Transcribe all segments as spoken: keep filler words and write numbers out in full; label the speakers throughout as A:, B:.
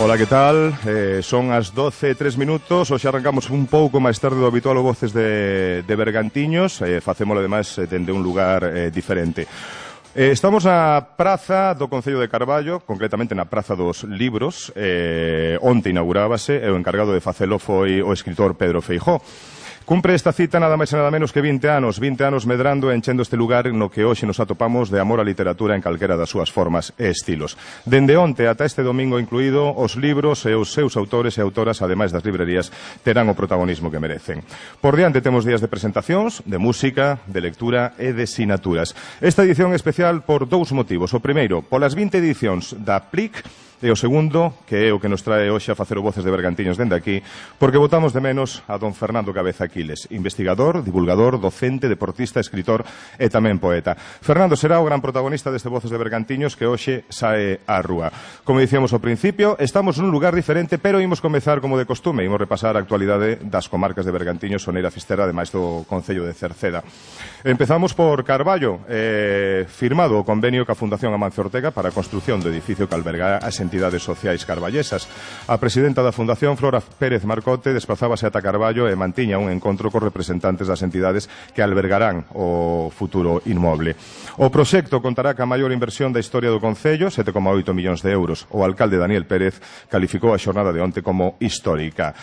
A: Ola, que tal? Eh, son as doce e tres minutos. Hoxe arrancamos un pouco máis tarde do habitual o Voces de, de Bergantiños. eh, Facémolo, ademais, dende un lugar eh, diferente. eh, Estamos na praza do Concello de Carballo, concretamente na Praza dos Libros. eh, Onte inaugurábase e o encargado de facelo foi o escritor Pedro Feijóo. Cumpre esta cita nada máis e nada menos que vinte anos, vinte anos medrando e enchendo este lugar no que hoxe nos atopamos de amor á literatura en calquera das súas formas e estilos. Dende onte ata este domingo incluído, os libros e os seus autores e autoras, ademais das librerías, terán o protagonismo que merecen. Por diante temos días de presentacións, de música, de lectura e de sinaturas. Esta edición é especial por dous motivos. O primeiro, polas vinte edicións da P L I C, e o segundo, que é o que nos trae hoxe a facer o Voces de Bergantiños dende aquí, porque botamos de menos a don Fernando Cabeza Aquiles, investigador, divulgador, docente, deportista, escritor e tamén poeta. Fernando será o gran protagonista deste Voces de Bergantiños que hoxe sae á rúa. Como dicíamos ao principio, estamos nun lugar diferente, pero imos comezar como de costume, imos repasar a actualidade das comarcas de Bergantiños, Soneira, Fisterra, ademais do Concello de Cerceda. Empezamos por Carballo, eh, firmado o convenio ca Fundación Amancio Ortega para a construción do edificio que albergará as entidades sociais carballesas. A presidenta da Fundación, Flora Pérez Marcote, desplazábase ata Carballo e mantiña un encontro cos representantes das entidades que albergarán o futuro inmoble. O proxecto contará ca maior inversión da historia do Concello, sete coma oito millóns de euros. O alcalde Daniel Pérez calificou a xornada de onte como histórica.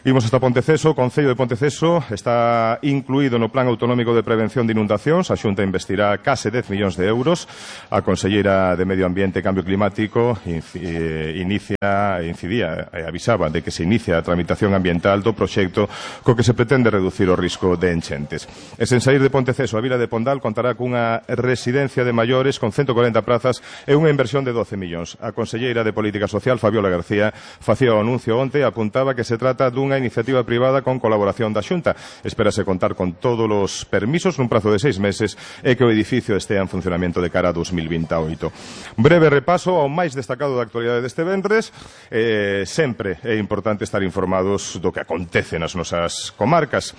A: Imos hasta Ponteceso. O Concello de Ponteceso está incluído no Plan Autonómico de Prevención de Inundacións. A Xunta investirá case dez millóns de euros. A Conselleira de Medio Ambiente e Cambio Climático inicia, incidía e avisaba de que se inicia a tramitación ambiental do proxecto co que se pretende reducir o risco de enchentes. E sen saír de Ponteceso, a vila de Pondal contará cunha residencia de maiores con ciento corenta prazas e unha inversión de doce millóns. A Conselleira de Política Social, Fabiola García, facía o anuncio onte e apuntaba que se trata dun unha iniciativa privada con colaboración da Xunta. Espérase contar con todos os permisos nun prazo de seis meses e que o edificio estea en funcionamento de cara a dos mil vinte e oito. Breve repaso ao máis destacado da actualidade deste venres. Eh, sempre é importante estar informados do que acontece nas nosas comarcas.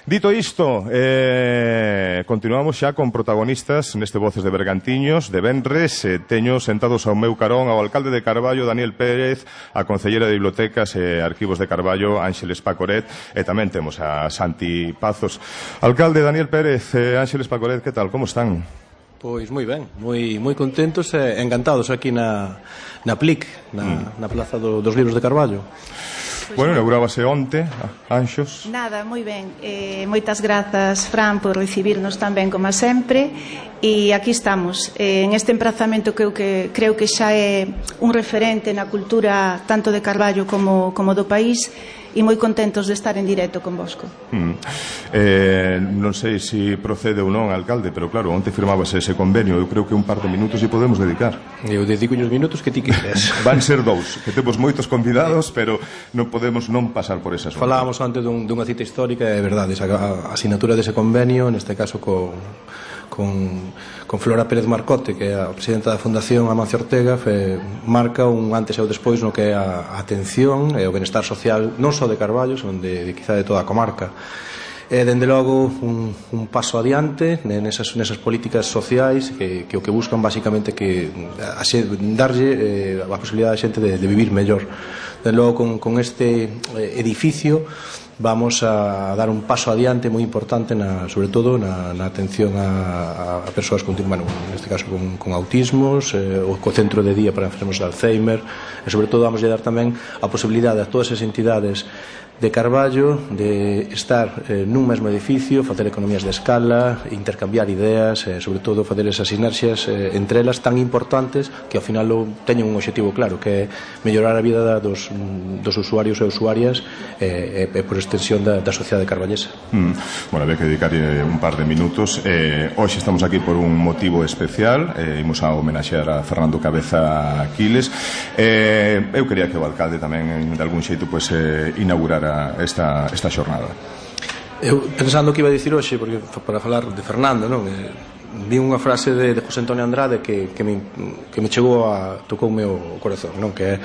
A: Dito isto, eh, continuamos xa con protagonistas neste Voces de Bergantiños de venres. Eh, teño sentados ao meu carón ao alcalde de Carballo, Daniel Pérez, a Concellera de Bibliotecas e Arquivos de Carballo, Ángeles Pacoret, e tamén temos a Santi Pazos. Alcalde Daniel Pérez, eh, Ángeles Pacoret, que tal? Como están?
B: Pois moi ben, moi moi contentos e encantados aquí na na P L I C, na, mm. na Plaza do, dos Libros de Carballo.
A: Pues bueno, inaugurábase onte, Anxos.
C: Nada, moi ben. Eh, moitas grazas, Fran, por recibirnos tan ben como sempre. E aquí estamos, eh, en este emprazamento que eu que creo que xa é un referente na cultura tanto de Carballo como, como do país, e moi contentos de estar en directo convosco.
A: Mm. Eh, non sei se si procede ou non, alcalde, pero claro, onte firmábase ese convenio. Eu creo que un par de minutos e podemos dedicar.
B: Eu dedico os minutos que ti queres.
A: Van ser dous, que temos moitos convidados, pero non podemos non pasar por esas.
B: Falábamos antes dun, dunha cita histórica, é verdade, a, a asinatura dese convenio, neste caso co Con, con Flora Pérez Marcote, que é a presidenta da Fundación Amancio Ortega, fe, marca un antes e o despois no que é a, a atención e o benestar social non só de Carballo, son de, de quizá de toda a comarca. E, dende logo, un, un paso adiante nesas, nesas políticas sociais que, que o que buscan basicamente que a, a darlle eh, a posibilidade a xente de, de vivir mellor. Dende logo, con, con este edificio vamos a dar un paso adiante moi importante, na, sobre todo na, na atención a, a persoas con, bueno, neste caso con, con autismos, eh, o co centro de día para enfermos de Alzheimer, e sobre todo vamos a dar tamén a posibilidade a todas as entidades de Carballo de estar eh, nun mesmo edificio, facer economías de escala, intercambiar ideas, eh, sobre todo facer esas sinerxias eh, entre elas tan importantes que ao final teñen un objetivo claro, que é mellorar a vida dos, dos usuarios e usuarias e eh, eh, por extensión da, da sociedade carballesa.
A: Mm. Bueno, había que dedicar un par de minutos. Eh, hoxe estamos aquí por un motivo especial. Eh, imos a homenaxear a Fernando Cabeza Aquiles. Eh, eu quería que o alcalde tamén de algún xeito pues, eh, inaugurara esta, esta xornada.
B: Eu pensando que iba a dicir hoxe, porque para falar de Fernando, non? Eh, vi unha frase de, de José Antonio Andrade que, que, me, que me chegou a tocoume o corazón, non? Que é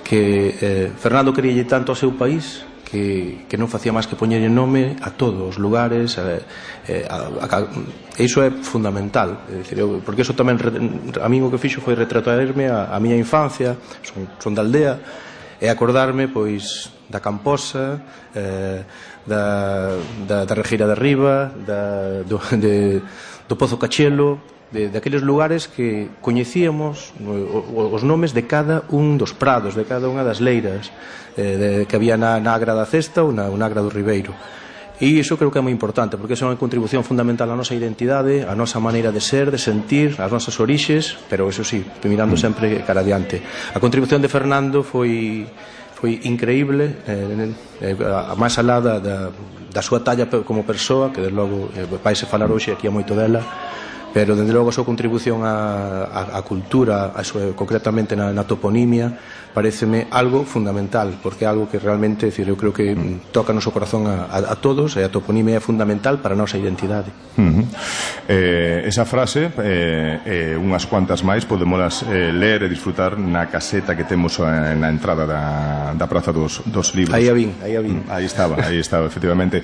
B: que eh, Fernando queríalle tanto ao seu país que, que non facía máis que poñerlle nome a todos os lugares, eh, eh, a, a, a, e iso é fundamental, é dicir, eu, porque iso tamén a mí o que fixo foi retratarme a, a miña infancia, son, son da aldea, e acordarme pois da Camposa, eh, da, da, da Regueira de Arriba, da, do, de, do Pozo Cachelo, de, de aqueles lugares que coñecíamos o, os nomes de cada un dos prados, de cada unha das leiras eh, de, que había na, na Agra da Cesta ou na, na Agra do Ribeiro. E iso creo que é moi importante, porque é unha contribución fundamental á nosa identidade, á nosa maneira de ser, de sentir, ás nosas orixes, pero eso sí, mirando sempre cara adiante. A contribución de Fernando foi foi increíble, eh, eh, a máis alá da, da, da súa talla como persoa, que desde logo eh, vaise falar hoxe aquí a moito dela, pero desde logo a súa contribución á, á, á cultura, a súa, concretamente na, na toponimia, pareceme algo fundamental, porque é algo que realmente, decir, eu creo que toca no seu corazón a, a, a todos, e a toponimia é fundamental para a nosa identidade.
A: Uh -huh. eh, esa frase eh, eh, unhas cuantas máis podemos eh, ler e disfrutar na caseta que temos eh, na entrada da, da Praza dos, dos Libros.
B: Aí a vin, aí a vin.
A: Aí estaba, aí estaba, efectivamente.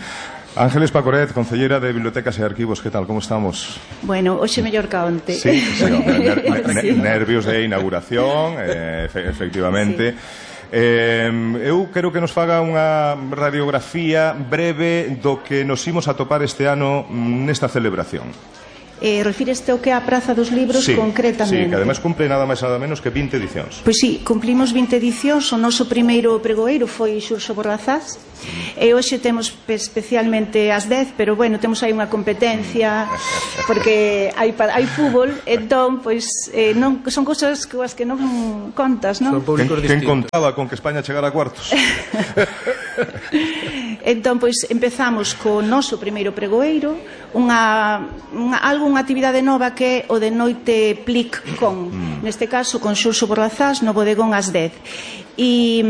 A: Ángeles Pacoret, concelleira de Bibliotecas e Arquivos, que tal, como estamos?
C: Bueno, hoxe mellor que onte.
A: Sí, sí, ner ner nervios de inauguración, eh, efectivamente. Sí. Eh, eu quero que nos faga unha radiografía breve do que nos imos a topar este ano nesta celebración.
C: Eh, refíreste ao que é a Praza dos Libros,
A: sí,
C: concretamente.
A: Sí, que ademais cumple nada máis nada menos que vinte edicións.
C: Pois sí, cumplimos vinte edicións. O noso primeiro pregoeiro foi Xurxo Borrazás, e hoxe temos especialmente as dez, pero bueno, temos aí unha competencia porque hai, hai fútbol, entón pois eh, non, son cousas que as que non contas, non?
A: Quen, quen contaba con que España chegara a cuartos?
C: Entón, pois, empezamos co noso primeiro pregoeiro, unha, unha, algo, unha actividade nova que é o de noite Plic con, mm. neste caso, con Xurxo Borrazás, no bodegón ás dez. E,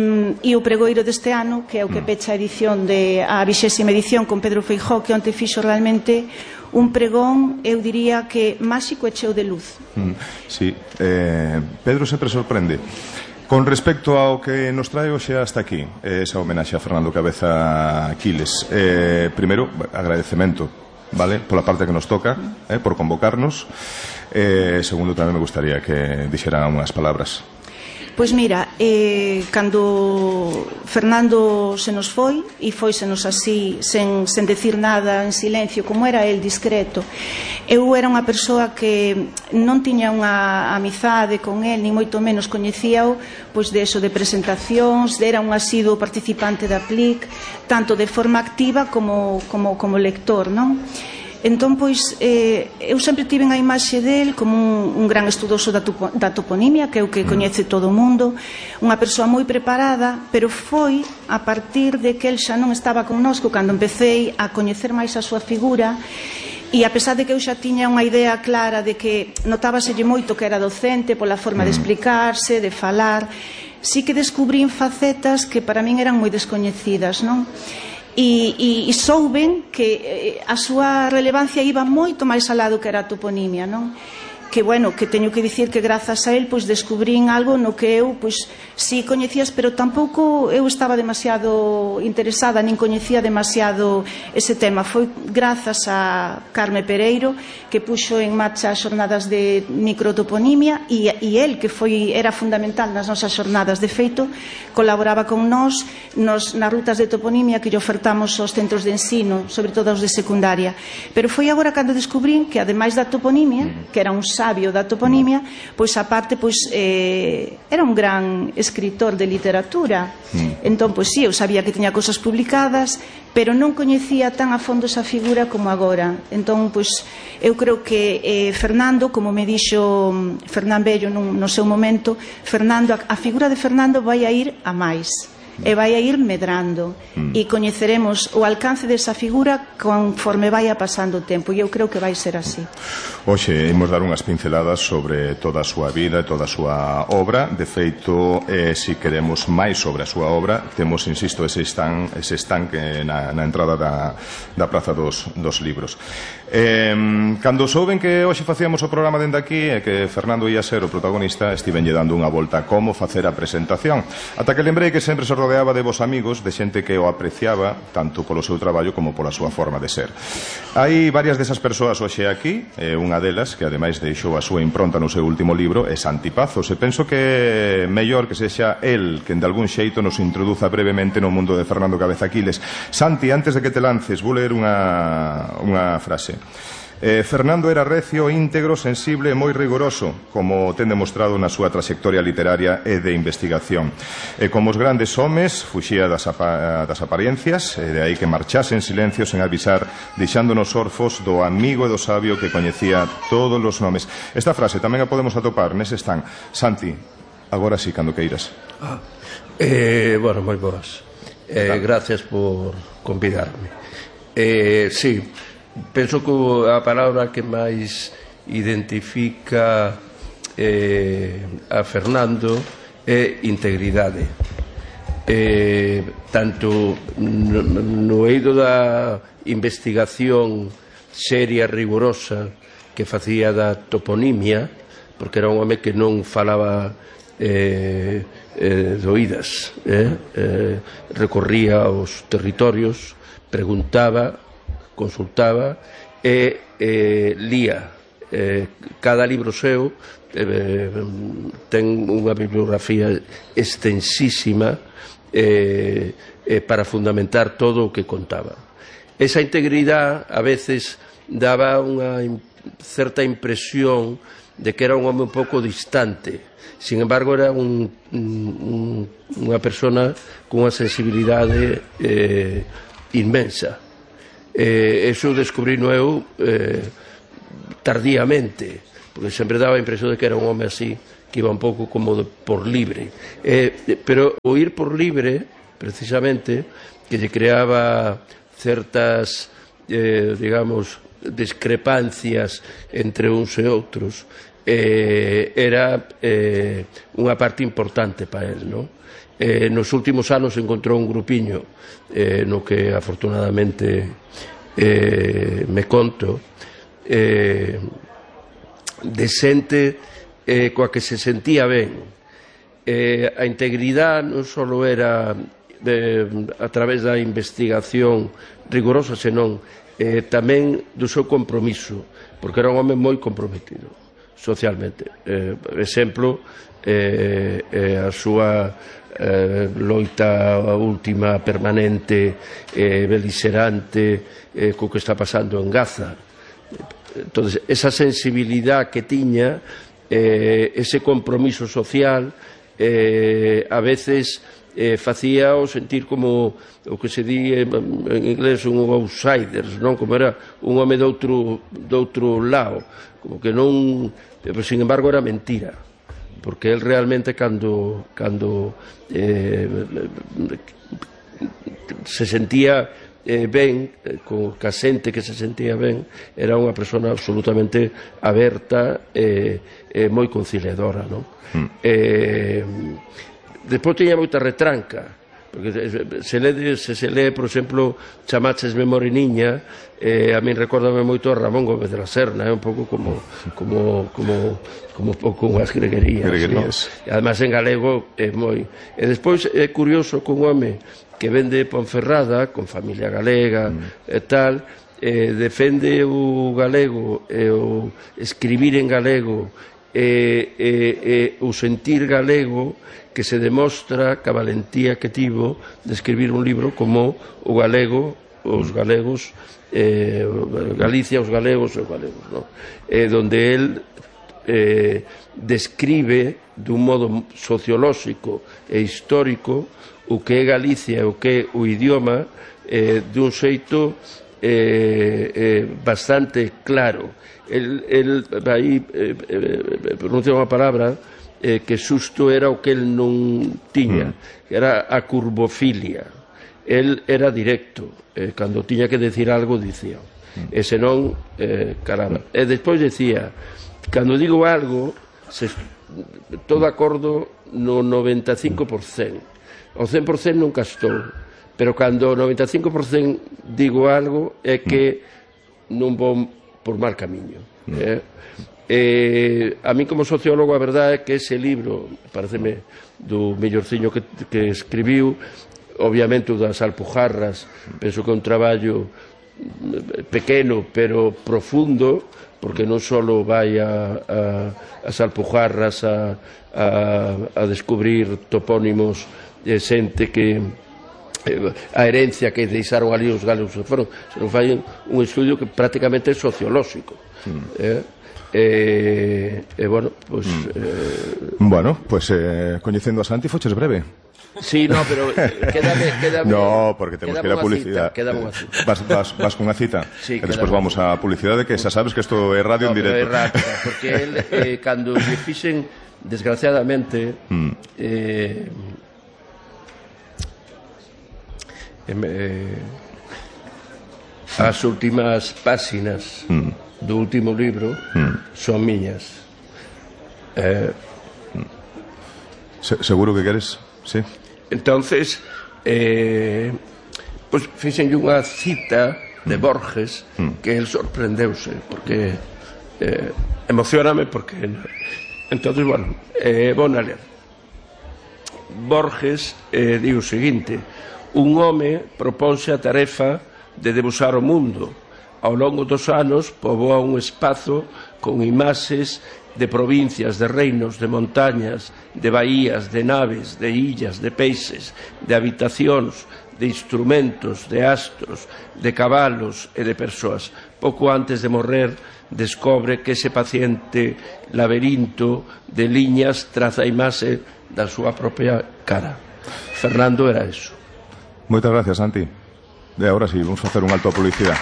C: e o pregoeiro deste ano, que é o que pecha a edición de, a vixésima edición con Pedro Feijóo, que onte fixo realmente un pregón, eu diría que máxico e cheo de luz.
A: Mm, sí, eh, Pedro sempre sorprende. Con respecto ao que nos trae hoxe hasta aquí, esa homenaxe a Fernando Cabeza Quiles, eh, primeiro, agradecemento, vale, pola parte que nos toca, eh, por convocarnos. Eh, segundo, tamén me gustaría que dixeran unhas palabras.
C: Pois mira, eh, cando Fernando se nos foi, e foi se nos así, sen, sen decir nada, en silencio, como era el, discreto, eu era unha persoa que non tiña unha amizade con el, ni moito menos coñecíao, pois de eso, de presentacións, era un asiduo participante da Plic, tanto de forma activa como, como, como lector, non? Entón, pois, eh, eu sempre tive a imaxe del como un, un gran estudoso da, tupo, da toponimia, que é o que coñece todo o mundo, unha persoa moi preparada, pero foi a partir de que el xa non estaba connosco cando empecé a coñecer máis a súa figura, e a pesar de que eu xa tiña unha idea clara de que notábaselle moito que era docente pola forma de explicarse, de falar, sí que descubrín facetas que para min eran moi descoñecidas, non? E, e, e souben que a súa relevancia iba moito máis alá do que era a toponimia, non? Que, bueno, que teño que dicir que grazas a él, pois, descubrín algo no que eu, pois, si coñecías, pero tampouco eu estaba demasiado interesada, nin coñecía demasiado ese tema. Foi grazas a Carme Pereiro, que puxo en marcha as xornadas de microtoponimia, e, e el, que foi, era fundamental nas nosas xornadas. De feito, colaboraba con nós nos, nas rutas de toponimia que lle ofertamos aos centros de ensino, sobre todo aos de secundaria. Pero foi agora cando descubrín que, ademais da toponimia, que era un sabio da toponimia, pois aparte, pois, eh, era un gran escritor de literatura. Entón, pois sí, eu sabía que tiña cosas publicadas, pero non coñecía tan a fondo esa figura como agora. Entón, pois, eu creo que eh, Fernando, como me dixo Fernán Bello no, no seu momento, Fernando, a, a figura de Fernando vai a ir a máis, e vai a ir medrando, mm. e coñeceremos o alcance desa figura conforme vai pasando o tempo, e eu creo que vai ser así.
A: Hoxe imos dar unhas pinceladas sobre toda a súa vida e toda a súa obra. De feito, eh, si queremos máis sobre a súa obra, temos, insisto, ese stand, ese estanque na, na entrada da, da Praza dos, dos Libros. Eh, cando souben que hoxe facíamos o programa dende aquí e que Fernando ia ser o protagonista, estivenlle dando unha volta a como facer a presentación, ata que lembrei que sempre se rodeaba de vos amigos, de xente que o apreciaba tanto polo seu traballo como pola súa forma de ser. Hai varias desas persoas hoxe aquí, e unha delas, que ademais deixou a súa impronta no seu último libro, é Santi Pazos, e penso que mellor que sexa el quen de algún xeito nos introduza brevemente no mundo de Fernando Cabeza Aquiles. Santi, antes de que te lances, vou ler unha, unha frase. Eh, Fernando era recio, íntegro, sensible e moi rigoroso, como ten demostrado na súa trayectoria literaria e de investigación. E como os grandes homes, fuxía das, apa das apariencias, e de aí que marchase en silencio sen avisar, deixándonos orfos do amigo e do sabio que coñecía todos os nomes. Esta frase tamén a podemos atopar nese stand. Santi, agora sí, cando queiras.
D: Ah, eh, bueno, moi boas. Eh, gracias por convidarme. Eh, sí, penso que a palabra que máis identifica eh, a Fernando é integridade. Eh, tanto no, no eido da investigación seria, rigurosa que facía da toponimia, porque era un home que non falaba eh, eh, de oídas, eh? Eh, recorría aos territorios, preguntaba, consultaba e eh, lía. Eh, cada libro seu eh, ten unha bibliografía extensísima eh, eh, para fundamentar todo o que contaba. Esa integridade a veces daba unha certa impresión de que era un home un pouco distante. Sin embargo, era un, un, unha persona con unha sensibilidade eh, inmensa. Eh, eso descubrino eu eh, tardíamente, porque sempre daba a impresión de que era un home así, que iba un pouco como de, por libre. Eh, pero o ir por libre, precisamente, que lle creaba certas, eh, digamos, discrepancias entre uns e outros, eh, era eh, unha parte importante para él, non? Eh, nos últimos anos encontrou un grupiño eh, no que afortunadamente eh, me conto eh, de xente eh, coa que se sentía ben. Eh, a integridade non só era de, a través da investigación rigorosa, senón eh, tamén do seu compromiso, porque era un home moi comprometido socialmente. Eh, exemplo, eh, eh, a súa Eh, loita última permanente eh, beligerante eh, co que está pasando en Gaza. Entonces, esa sensibilidade que tiña, eh, ese compromiso social, eh, a veces eh, facía o sentir como o que se di en inglés un outsiders, non? Como era un home de outro, de outro lado, como que non, pero sin embargo era mentira, porque él realmente cando, cando eh, se sentía eh, ben, eh, co ca xente que se sentía ben, era unha persona absolutamente aberta e eh, eh, moi conciliadora, non? Mm. Eh, despois tiña moita retranca, porque se, lee, se se lee, por exemplo, Chamaches Memoriniña, eh, a min recórdame moito a Ramón Gómez de la Serna, é eh, un pouco como como como como un pouco unhas greguerías, greguerías. ¿No? E además en galego é moi. E despois é curioso que un home que vende Ponferrada, con familia galega mm. e tal, eh, defende o galego e o escribir en galego e, e, e o sentir galego, que se demostra que a valentía que tivo de escribir un libro como o galego, os galegos, eh, Galicia, os galegos e os galegos, ¿no? Eh, donde él eh, describe dun modo sociolóxico e histórico o que é Galicia e o que é o idioma eh, dun xeito eh, eh, bastante claro. El, el aí eh, eh, pronuncia unha palabra eh, que xusto era o que el non tiña, que era a curvofilia. El era directo, eh, cando tiña que decir algo dicía, e senón eh, caramba. E despois decía, cando digo algo se, todo acordo no noventa e cinco por cento, o cen por cento nunca estou, pero cando o noventa e cinco por cento digo algo é que non vou por mal camiño, eh? Eh, a mí como sociólogo a verdade é que ese libro pareceme do mellorciño que, que escribiu, obviamente o das Alpujarras, penso que é un traballo pequeno pero profundo, porque non só vai a, a, as Alpujarras a, a, a descubrir topónimos de xente que a herencia que deixaron ali os galegos que foron, se non fai un estudio que prácticamente é sociolóxico. Mm. Eh? E, eh, eh, bueno, pues, mm. eh...
A: bueno, pues eh, coñecendo a Santi foches breve.
D: Sí, no, pero quédame, quédame
A: no, porque temos que ir a publicidade.
D: Quédame unha cita.
A: Vas, vas, vas con unha cita?
D: Sí,
A: e despois vamos a publicidade, que xa sabes que isto é radio
D: no,
A: en directo.
D: É rápida, porque el, eh, cando lle fixen, desgraciadamente, mm. eh, eh, as últimas páxinas mm. do último libro mm. son miñas. Eh,
A: Se, seguro que queres? Sí.
D: Entonces, eh, pues fixenlle unha cita de Borges mm. que el sorprendeuse, porque eh, emocioname, porque entonces, bueno, eh, bon a ler. Borges eh, di o seguinte: un home proponse a tarefa de debuxar o mundo. Ao longo dos anos poboa un espazo con imaxes de provincias, de reinos, de montañas, de baías, de naves, de illas, de peixes, de habitacións, de instrumentos, de astros, de cabalos e de persoas. Pouco antes de morrer, descobre que ese paciente laberinto de liñas traza a imaxe da súa propia cara. Fernando era eso.
A: Moitas gracias, Santi. E agora sí, vamos a facer un alto a publicidade.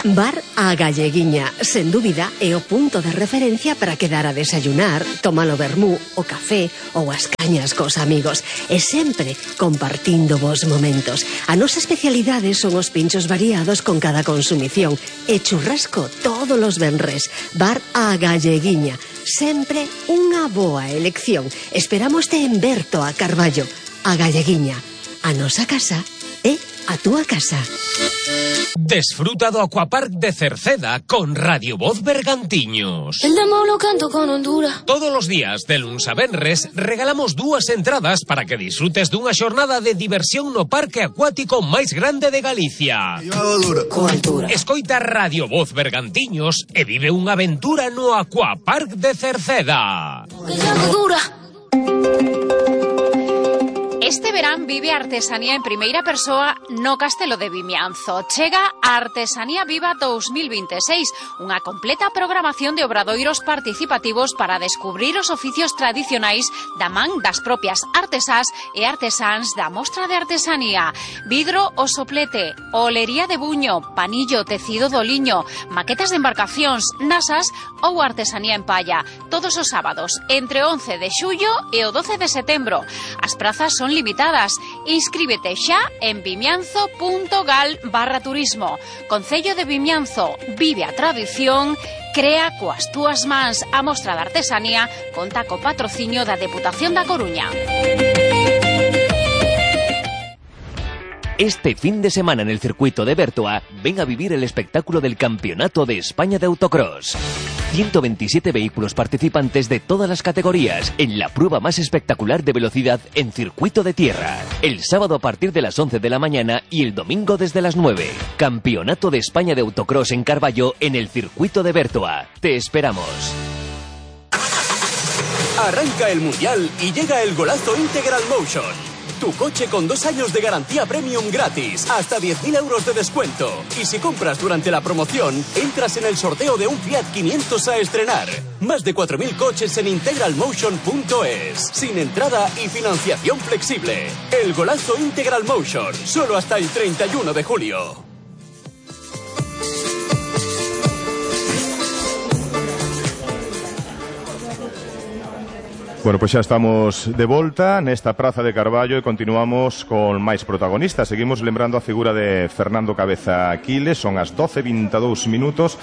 E: Bar A Galleguiña, sen dúbida, é o punto de referencia para quedar a desayunar, tomar o vermú, o café ou as cañas cos amigos, e sempre compartindo vos momentos. A nosa especialidade son os pinchos variados con cada consumición e churrasco todos os venres. Bar A Galleguiña, sempre unha boa elección. Esperámoste en Berto a Carballo. A Galleguiña, a nosa casa é a túa casa.
F: Desfruta do Aquapark de Cerceda con Radio Voz Bergantiños.
G: El demo lo canto con Honduras.
F: Todos os días, de luns a venres, regalamos dúas entradas para que disfrutes dunha xornada de diversión no parque acuático máis grande de Galicia. Escoita Radio Voz Bergantiños e vive unha aventura no Aquapark de Cerceda.
G: Que llame dura.
H: Este verán vive a artesanía en primeira persoa no Castelo de Vimianzo. Chega a Artesanía Viva dos mil vinte e seis, unha completa programación de obradoiros participativos para descubrir os oficios tradicionais da man das propias artesás e artesáns da Mostra de Artesanía. Vidro o soplete, olería de buño, panillo, tecido do liño, maquetas de embarcacións, nasas ou artesanía en palla. Todos os sábados, entre o once de xullo e o doce de setembro. As prazas son limitadas. Inscríbete xa en vimianzo punto gal barra turismo. Concello de Vimianzo, vive a tradición, crea coas túas mans. A Mostra de Artesanía conta co patrocinio da Deputación da Coruña.
I: Este fin de semana en el circuito de Bertoa, ven a vivir el espectáculo del Campeonato de España de Autocross. ciento veintisiete vehículos participantes de todas las categorías en la prueba más espectacular de velocidad en circuito de tierra. El sábado a partir de las once de la mañana y el domingo desde las nueve. Campeonato de España de Autocross en Carballo en el circuito de Bertoa. Te esperamos.
J: Arranca el Mundial y llega el golazo Integral Motion. Tu coche con dos años de garantía premium gratis, hasta diez mil euros de descuento. Y si compras durante la promoción, entras en el sorteo de un Fiat quinientos a estrenar. Más de cuatro mil coches en integral motion punto es. Sin entrada y financiación flexible. El golazo Integral Motion, solo hasta el treinta y uno de julio.
A: Bueno, pois xa estamos de volta nesta praza de Carballo e continuamos con máis protagonistas. Seguimos lembrando a figura de Fernando Cabeza Aquiles. Son as doce e vinte e dous minutos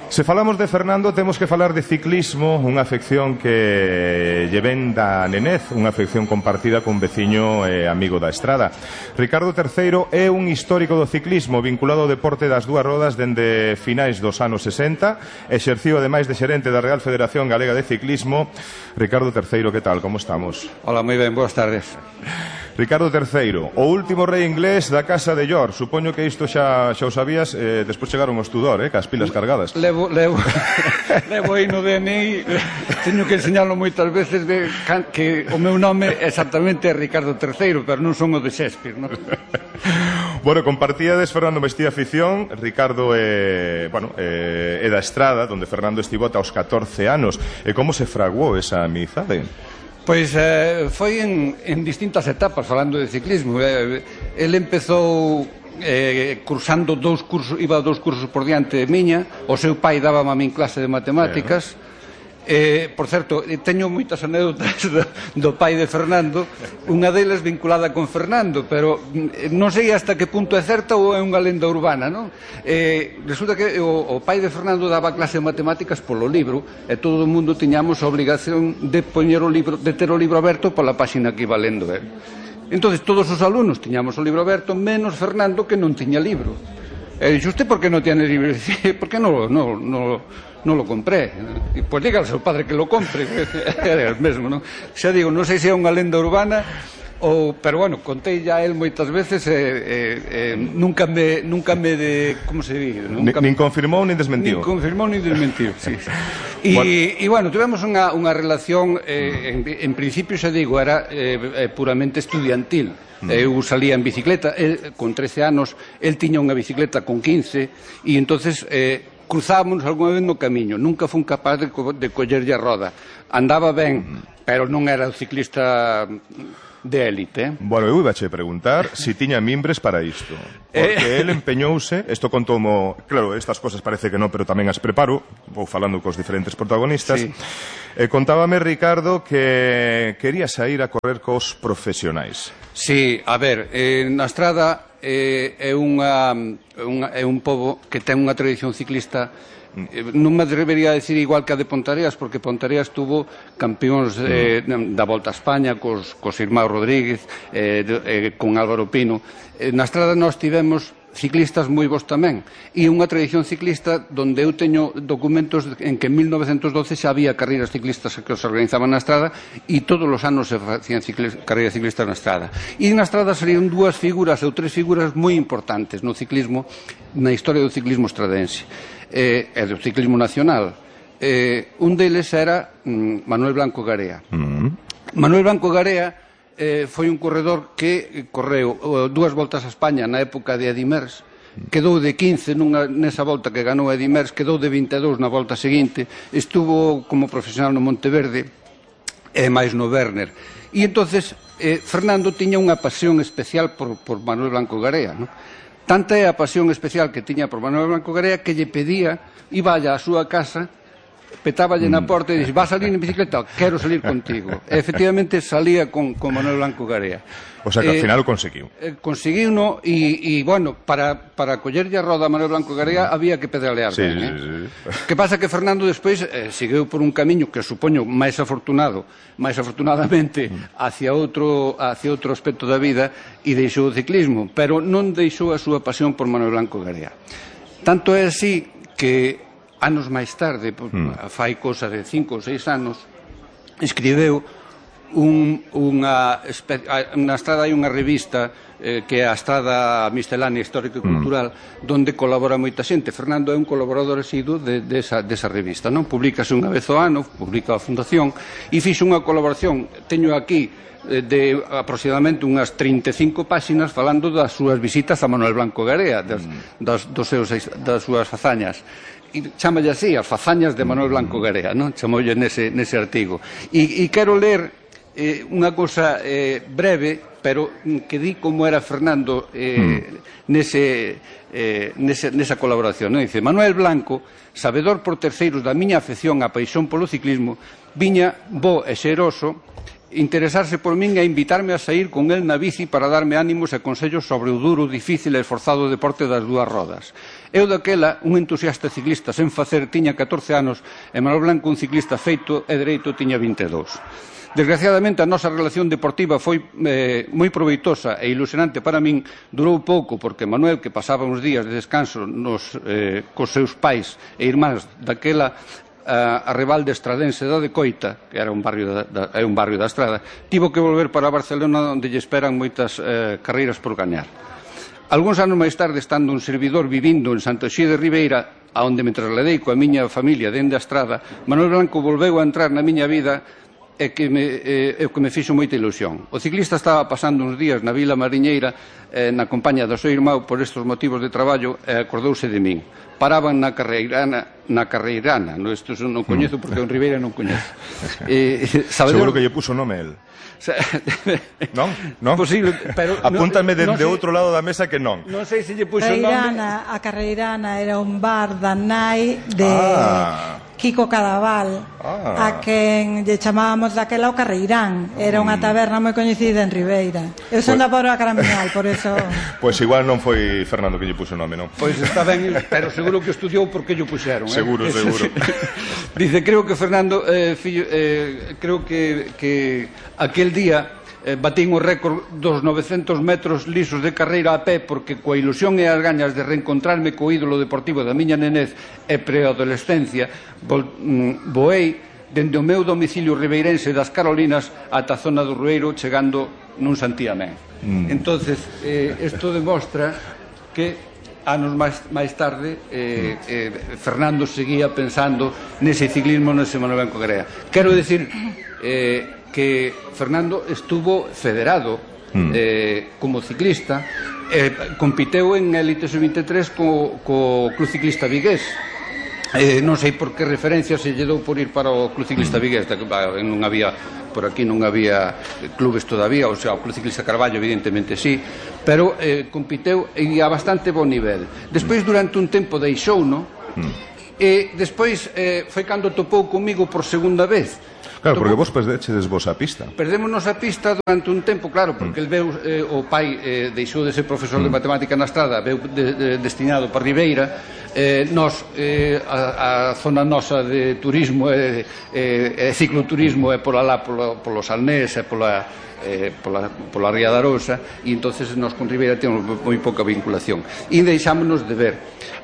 A: Se falamos de Fernando, temos que falar de ciclismo, unha afección que lle ven da nenez, unha afección compartida con veciño e amigo da estrada. Ricardo terceiro é un histórico do ciclismo vinculado ao deporte das dúas rodas dende finais dos anos sesenta, exerciu ademais de xerente da Real Federación Galega de Ciclismo. Ricardo terceiro, que tal? Como estamos?
K: Hola, moi ben, boas tardes.
A: Ricardo terceiro, o último rei inglés da Casa de York. Supoño que isto xa, xa o sabías, eh, despois chegaron os Tudor, eh, cas pilas cargadas.
K: Levo, levo, levo aí no D N I, teño que enseñarlo moitas veces de que o meu nome exactamente é Ricardo terceiro, pero non son o de Shakespeare, non?
A: Bueno, compartíades Fernando Mestía afición, Ricardo é, bueno, é, é da Estrada, onde Fernando estivo ata os catorce anos. E como se fraguou esa amizade?
K: Pois eh, foi en, en distintas etapas, falando de ciclismo. Eh, el empezou eh, cursando dous cursos, iba dous cursos por diante de miña. O seu pai dábame a min clase de matemáticas. Eh, por certo, teño moitas anécdotas do, do pai de Fernando, unha delas vinculada con Fernando, pero non sei hasta que punto é certa ou é unha lenda urbana, non? Eh, resulta que o, o pai de Fernando daba clase de matemáticas polo libro e todo o mundo tiñamos a obrigación de poñer o libro, de ter o libro aberto pola páxina que iba lendo el. Entonces todos os alumnos tiñamos o libro aberto, menos Fernando, que non tiña libro. E dixo, usted por que non tiene libro? Por que non no, no, no lo compré? E pois diga ao seu padre que lo compre. Era el mesmo, non? Xa digo, non sei se é unha lenda urbana ou, pero bueno, contei ya a él moitas veces e eh, eh, nunca me nunca me de, como se di? Nunca
A: nin confirmou nin desmentiu.
K: Nin confirmou nin desmentiu, sí. E, bueno. e bueno, tivemos unha, unha relación eh, en, en principio, xa digo, era eh, puramente estudiantil. Eu salía en bicicleta, el, con trece anos, el tiña unha bicicleta con quince, e entonces eh, cruzábamos algunha vez no camiño. Nunca fun capaz de, co de collerlle a roda. Andaba ben, pero non era o ciclista de élite. Eh?
A: Bueno, eu ibache preguntar se si tiña mimbres para isto. Porque eh... el empeñouse, isto contomo, claro, estas cosas parece que non, pero tamén as preparo, vou falando cos diferentes protagonistas. Sí. E contábame, Ricardo, que quería sair a correr cos profesionais.
K: Sí, a ver, eh, na Estrada eh, é, unha, unha, é un pobo que ten unha tradición ciclista. Non me atrevería a decir igual que a de Pontareas, porque Pontareas tuvo campións eh, da Volta a España cos, cos Irmão Rodríguez, eh, de, eh, con Álvaro Pino. Eh, na Estrada nós tivemos ciclistas moi bons tamén, e unha tradición ciclista donde eu teño documentos en que en mil novecentos doce xa había carreiras ciclistas que os organizaban na Estrada, e todos os anos se facían ciclis, carreiras ciclistas na Estrada. E na Estrada serían dúas figuras ou tres figuras moi importantes no ciclismo, na historia do ciclismo estradense e eh, do ciclismo nacional. Eh, un deles era mm, Manuel Blanco Garea. Mm. Manuel Blanco Garea Eh, foi un corredor que correu uh, dúas voltas a España na época de Eddy Merckx, quedou de quince nunha, nesa volta que ganou Eddy Merckx, quedou de vinte e dous na volta seguinte, estuvo como profesional no Monteverde e máis no Werner. E entonces eh, Fernando tiña unha pasión especial por, por Manuel Blanco Garea, ¿no? Tanta é a pasión especial que tiña por Manuel Blanco Garea que lle pedía, iba á súa casa, petáballe na porta e dixo, vas a salir en bicicleta? Quero salir contigo. E efectivamente salía con, con Manuel Blanco Garea.
A: O sea que eh, ao final o conseguiu.
K: Eh, conseguiu, no, e, e bueno, para, para collerlle a roda a Manuel Blanco Garea había que pedalear
A: sí,
K: ben,
A: sí,
K: eh?
A: sí.
K: Que pasa que Fernando despois eh, seguiu por un camiño que supoño máis afortunado, máis afortunadamente hacia outro, hacia outro aspecto da vida, e deixou o ciclismo, pero non deixou a súa pasión por Manuel Blanco Garea. Tanto é así que anos máis tarde, mm. fai cosa de cinco ou seis anos, escribeu un, unha na Estrada hai unha revista eh, que é a Estrada Miscelánea Histórica e Cultural, mm. donde colabora moita xente. Fernando é un colaborador asiduo de, de esa, desa revista, non? Publícase unha vez ao ano, publica a Fundación, e fixo unha colaboración, teño aquí de aproximadamente unhas trinta e cinco páxinas falando das súas visitas a Manuel Blanco Garea, das, das, dos seus, das súas fazañas. E chámalle así, as fazañas de Manuel Blanco Garea, non? Chamoulle nese, nese artigo. E, e quero ler eh, unha cosa eh, breve, pero que di como era Fernando eh, mm. nese, eh, nese, nesa colaboración. Non? Dice, Manuel Blanco, sabedor por terceiros da miña afección a paixón polo ciclismo, viña bo e xeroso interesarse por min e invitarme a sair con el na bici para darme ánimos e consellos sobre o duro, difícil e esforzado deporte das dúas rodas. Eu daquela, un entusiasta ciclista sen facer, tiña catorce anos, e Manuel Blanco, un ciclista feito e dereito, tiña vinte e dous. Desgraciadamente, a nosa relación deportiva foi eh, moi proveitosa e ilusionante para min. Durou pouco, porque Manuel, que pasaba uns días de descanso nos, eh, cos seus pais e irmáns daquela a, a Revalde Estradense da Decoita, que era un barrio da, da, é un barrio da Estrada, tivo que volver para Barcelona, onde lle esperan moitas eh, carreiras por gañar. Algúns anos máis tarde, estando un servidor vivindo en Santo Xí de Ribeira, aonde me trasladei coa miña familia dende a Estrada, Manuel Blanco volveu a entrar na miña vida e que me, eh, que me fixo moita ilusión. O ciclista estaba pasando uns días na Vila Mariñeira eh, na compañía do seu irmão por estes motivos de traballo e acordouse de min. Paraban na Carreirana, na Carreirana, no, isto non coñezo porque en Ribeira non coñezo. Eh,
A: Seguro que lle puso nome el. Non? Non?
K: Posible, pero
A: apúntame
K: no,
A: de, no de outro lado da mesa que non.
K: Non sei se lle puxo
L: nome.
K: A
L: Carreirana era un bar da nai de ah. Kiko Cadaval, ah. a quen lle chamábamos daquela o Carreirán. Era unha taberna moi coñecida en Ribeira. Eu son pues, da Pobra Caramiñal, por eso...
A: Pois pues igual non foi Fernando que lle puxo nome, non?
K: Pois pues está ben, pero seguro que estudiou porque lle puxeron.
A: Seguro,
K: eh?
A: seguro.
K: Dice, creo que Fernando, eh, fillo, eh, creo que, que aquel día eh, batín o récord dos novecentos metros lisos de carreira a pé, porque coa ilusión e as gañas de reencontrarme co ídolo deportivo da miña nenez e preadolescencia, voei dende o meu domicilio ribeirense das Carolinas ata a zona do Rueiro, chegando nun santiamén. Mm. Entonces, eh, isto demostra que anos máis, máis tarde eh, eh, Fernando seguía pensando nese ciclismo, nese Manuel Blanco Garea. Quero decir eh, que Fernando estuvo federado mm. eh, como ciclista, eh, compiteu en Elite sub veintitrés co, co Club Ciclista Vigués. Eh, non sei por que referencia se lle dou por ir para o Club Ciclista Vigués, non había, por aquí non había clubes todavía, o sea, o Club Ciclista Carballo evidentemente sí, pero eh, compiteu e a bastante bon nivel. Despois, durante un tempo, deixou, no? Mm. E despois eh, foi cando topou comigo por segunda vez.
A: Claro, porque vos perdechedes vos a pista.
K: Perdémonos a pista durante un tempo, claro, porque mm. el veu, eh, o pai eh, deixou de ser profesor mm. de matemática na Estrada, veu de, de, destinado para Ribeira. Eh, nos, eh, a, a zona nosa de turismo e eh, eh, cicloturismo é pola lá, polo, polo Salnés e pola, eh, pola, pola Ría da Arousa, e entonces nos con Ribeira temos moi pouca vinculación. E deixámonos de ver.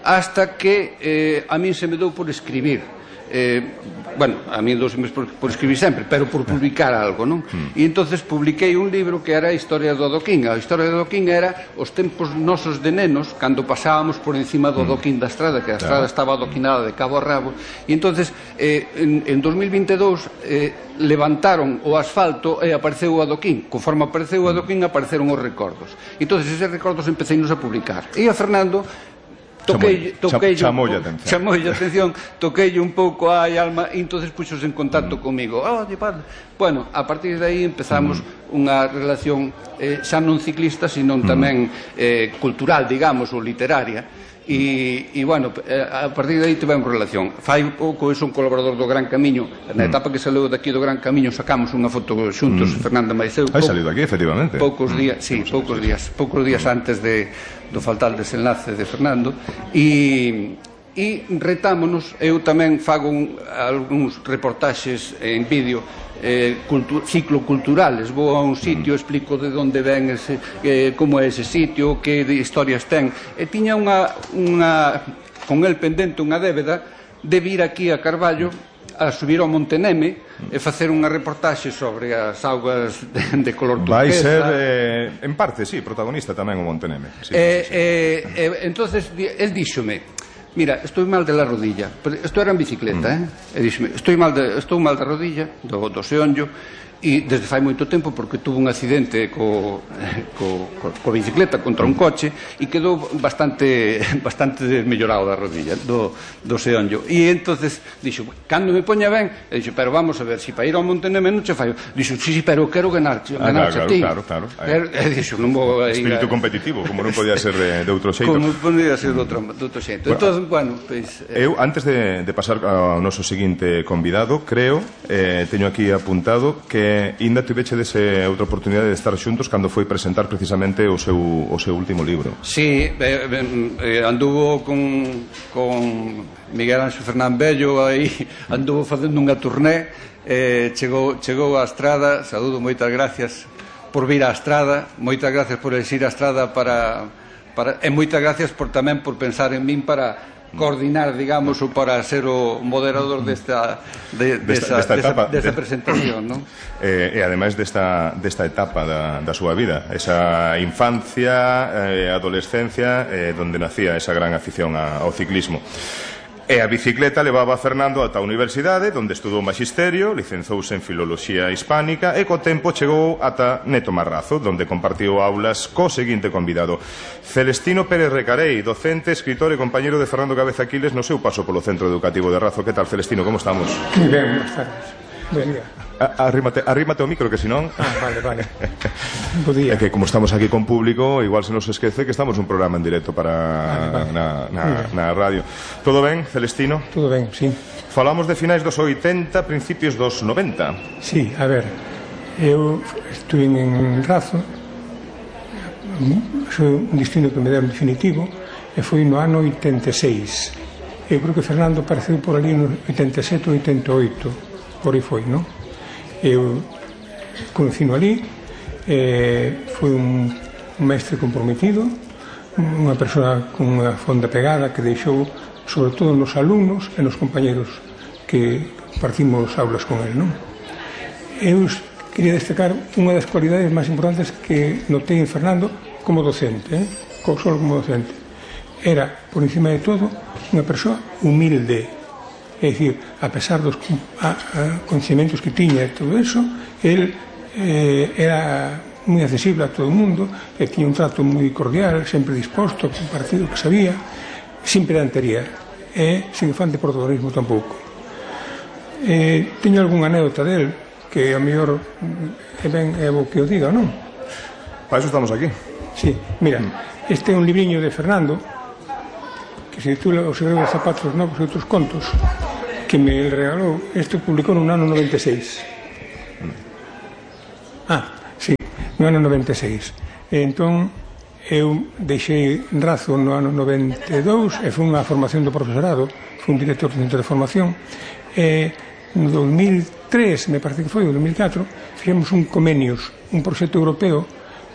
K: Hasta que eh, a min se me dou por escribir. Eh, bueno, a mí dos por, por escribir sempre, pero por publicar algo, non? Mm. E entonces publiquei un libro que era a historia do adoquín. A historia do adoquín era os tempos nosos de nenos, cando pasábamos por encima do adoquín da estrada, que a estrada claro. estaba adoquinada de cabo a rabo, e entonces eh, en, en dos mil veintidós eh, levantaron o asfalto e apareceu o adoquín. Conforme apareceu o adoquín, apareceron os recordos. E entonces eses recordos empecéinos a publicar. E a Fernando toquei, toquei
A: chamoulle a atención,
K: chamoulle a atención, toquei un pouco a alma e entonces puxos en contacto mm. comigo. Oh, bueno, a partir de aí empezamos mm. unha relación eh, xa non ciclista, sino mm. tamén eh, cultural, digamos, ou literaria. E, e bueno, a partir de aí tivemos relación. Fai pouco, eu son colaborador do Gran Camiño. Na etapa que saleu daqui do Gran Camiño sacamos unha foto xuntos, mm. Fernanda Maiceu.
A: Hai salido aquí, efectivamente.
K: Poucos días, mm. sí, poucos días, poucos días antes de do fatal desenlace de Fernando, e, e retámonos. Eu tamén fago un, algúns reportaxes en vídeo eh, cultu cicloculturales. Vou a un sitio, explico de onde ven ese, eh, como é ese sitio, que historias ten, e tiña unha, unha con el pendente unha débeda de vir aquí a Carballo a subir ao Monte Neme e facer unha reportaxe sobre as augas de, de color turquesa.
A: Vai ser, eh, en parte, sí, protagonista tamén o Monte Neme. Sí,
K: eh,
A: sí, sí.
K: Eh, eh, entonces, el díxome, mira, estou mal de la rodilla. Isto era en bicicleta, mm. eh? E díxome, estou mal de, estou mal da rodilla, do, do seonllo, e desde fai moito tempo, porque tuvo un accidente co, co, co, co bicicleta contra un coche e quedou bastante bastante desmellorado da rodilla, do, do seonllo. E entonces dixo, cando me poña ben, e dixo, pero vamos a ver, se si para ir ao Monte Neme non che fai. Dixo, sí, sí, pero quero ganar,
A: ah,
K: ganar
A: claro,
K: a ti.
A: Claro, claro, claro.
K: E dixo, non vou a ir
A: espírito
K: a...
A: competitivo, como non podía ser de, de outro xeito.
K: Como podía ser de outro, de outro xeito. Bueno, entón, bueno, pues,
A: eh... eu, antes de, de pasar ao noso seguinte convidado, creo, eh, teño aquí apuntado que eh, inda tiveche dese outra oportunidade de estar xuntos cando foi presentar precisamente o seu, o seu último libro.
K: Sí, eh, eh, anduvo con, con Miguel Anxo Fernán Bello aí, anduvo facendo unha turné, eh, chegou, chegou á Estrada. Saúdo, moitas gracias por vir á Estrada, moitas gracias por elixir a Estrada para, para, e moitas gracias por tamén por pensar en min para coordinar, digamos, ou para ser o moderador desta, de, desta, desta, etapa, desta, desta de, presentación, non?
A: Eh, e ademais desta, desta etapa da, da súa vida, esa infancia, eh, adolescencia, eh, donde nacía esa gran afición a, ao ciclismo. E a bicicleta levaba a Fernando ata a universidade, onde estudou magisterio, licenzouse en filoloxía hispánica e co tempo chegou ata Neto Marrazo, onde compartiu aulas co seguinte convidado, Celestino Pérez Recarei, docente, escritor e compañeiro de Fernando Cabeza Aquiles no seu paso polo Centro Educativo de Razo. Que tal, Celestino, como estamos?
M: Moi ben, boas tardes. Buen día.
A: Arrímate, arrímate ao micro, que senón...
M: Ah, vale, vale. Bo día.
A: É que como estamos aquí con público, igual se nos esquece que estamos un programa en directo para
M: vale, vale.
A: Na, na, na radio. Todo ben, Celestino?
M: Todo ben, sí.
A: Falamos de finais dos oitenta, principios dos noventa.
M: Sí, a ver, eu estuve en Razo, foi un destino que me deu definitivo, e foi no ano oitenta e seis. Eu creo que Fernando apareceu por ali no oitenta e sete ou oitenta e oito, por aí foi, non? Eu conocino ali, eh, foi un, un mestre comprometido, unha persoa con unha fonda pegada que deixou sobre todo nos alumnos e nos compañeros que partimos aulas con el, non? Eu quería destacar unha das cualidades máis importantes que notei en Fernando como docente, eh? Solo como docente. Era, por encima de todo, unha persoa humilde. É dicir, a pesar dos a, a, conhecimentos que tiña e todo eso, el eh, era moi accesible a todo o mundo, e tiña un trato moi cordial, sempre disposto a compartir o que sabía, sin pedantería, e sin afán de protagonismo tampouco. Eh, teño algunha anécdota del, que a mellor é ben é bo que o diga, non?
A: Para eso estamos aquí.
M: Sí, mira, este é un libriño de Fernando, que se titula Os segredos de zapatos novos e outros contos, que me regalou. Este publicou no ano noventa e seis. Ah, sí, no ano noventa e seis. E entón eu deixei Razo no ano noventa e dous e foi unha formación do profesorado, foi un director do centro de formación, e no dos mil tres, me parece que foi, o dos mil catro, fixemos un Comenius, un proxecto europeo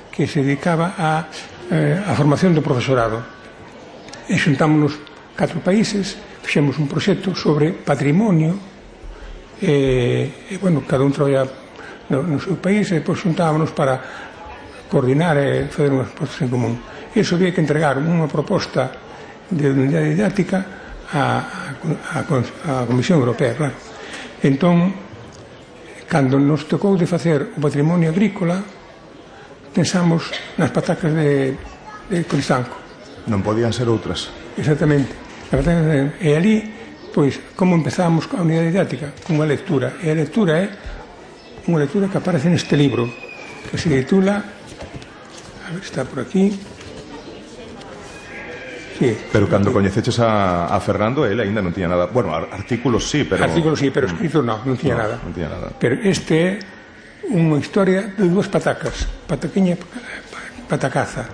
M: que se dedicaba a, eh, a formación do profesorado. E xuntámonos catro países, fixemos un proxecto sobre patrimonio, e, e bueno, cada un traballa no, no seu país, e depois xuntámonos para coordinar e fazer unhas propostas en común. E iso había que entregar unha proposta de unidade didáctica a, a, a Comisión Europea, claro. Entón, cando nos tocou de facer o patrimonio agrícola, pensamos nas patacas de, de Cristanco.
A: Non podían ser outras.
M: Exactamente. E ali, pois, como empezamos a unidade didáctica? Con unha lectura. E a lectura é unha lectura que aparece neste libro, que se titula, a ver, está por aquí. Sí.
A: Pero cando coñeceches a, a Fernando, ele aínda non tiña nada. Bueno, artículos sí, pero...
M: Artículos sí, pero escritos non, non tiña
A: no,
M: nada.
A: Non tiña nada.
M: Pero este é unha historia de dúas patacas, pataquiña, patacaza.